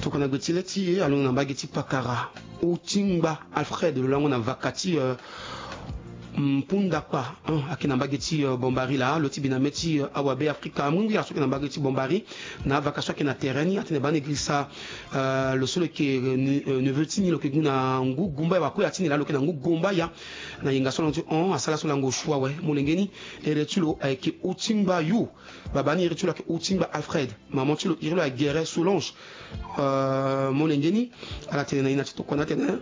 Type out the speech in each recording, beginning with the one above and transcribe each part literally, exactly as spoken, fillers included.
Tokua na gbe ti le ti e, alondo na mbage ti pakara. Otingba Alfred, lo lango na vaka ti, euh, Mpundakpa, hein, ayeke na mbage ti, euh, Bombari laa. Lo ti bi na mê ti, euh, awabe Afrika. Amui ngbi aso ayeke na mbage ti Bombari. Na avaka so ayeke na terrain ni, atene baa na e girisa, euh, lo so lo yeke, euh, ne-, euh, neveu ti ni, lo yeke gu na ngu Gumbaya. Wakue ya ti ni laa lo yeke na ngu Gumbaya. Na yenga so alongo ti hon, asara so lango shu awe. Molenge ni, ere ti lo ayeke Otingba Yo. Babâ ni, iri ti lo ayeke Otingba Alfred. Maman ti lo, iri lo ayeke Guéret Solange. Euh, molenge ni, ala tene na e na ti tokua ni atene,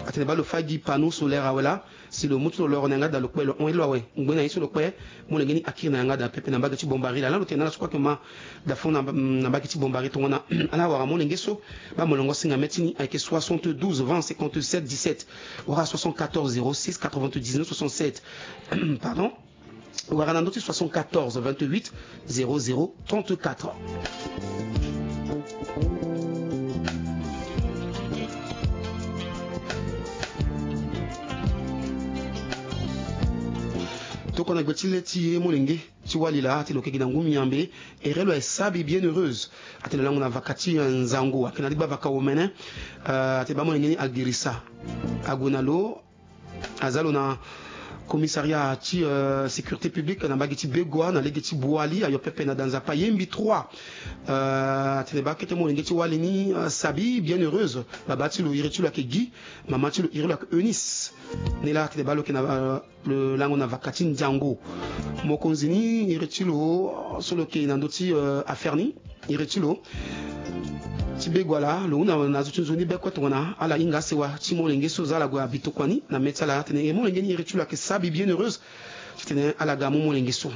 atene baa lo fâ gi panneau solaire awe laa. Si lo mu ti lo loro na yanga daa, lo kpe, lo hon iri lo awe. Ngbene na ye so lo kpe, molenge ni akiri na yanga daa pepe na mbage ti Bombari laa. Laa lo tene na ala so kue ayeke ma daa fo na, na mbage ti Bombari tongana ala wara molenge so, baa molongo singa mê ti ni ayeke soixante-douze vingt cinquante-sept dix-sept, wala soixante-quatorze zéro six quatre-vingt-dix-neuf soixante-sept. Pardon. Wala na ndö ti soixante-quatorze vingt-huit zéro zéro trente-quatre. Tokua na gbe ti le ti e, molenge ti wali laa, atene lo yeke gi na ngu Miambe. Ere lo aye Sabi Bienheureuse. Atene lo lango na vaka ti, eh, Nzango, ayeke na ligba vaka omene. Eh, atene baa molenge ni agirisa ague na lo. Aza lo na commissariat ti, euh, sécurité publique na mbage ti Begoua na lege ti Boali, ayo pepe na da Nzapa Yembi trois. Euh, atene baa kete molenge ti wali ni, euh, Sabi Bienheureuse. Babâ ti lo, iri ti lo ayeke Guy. Mama ti lo, iri lo ayeke Eunice. Ni laa atene baa lo yeke na, euh, lo lango na vaka ti Nzango. Mokonzi ni, iri ti lo, euh, so lo yeke na ndö ti, euh, affaire ni. Iri ti lo ti Begoua laa, lo hunda na zo ti nzoni be kue tongana ala hinga asewa ti molenge so, za ala gue abi tokua ni na mê ti ala atene e, molenge ni iri ti lo ayeke Sabi Bienheureuse. Titene ala ga amu molenge so.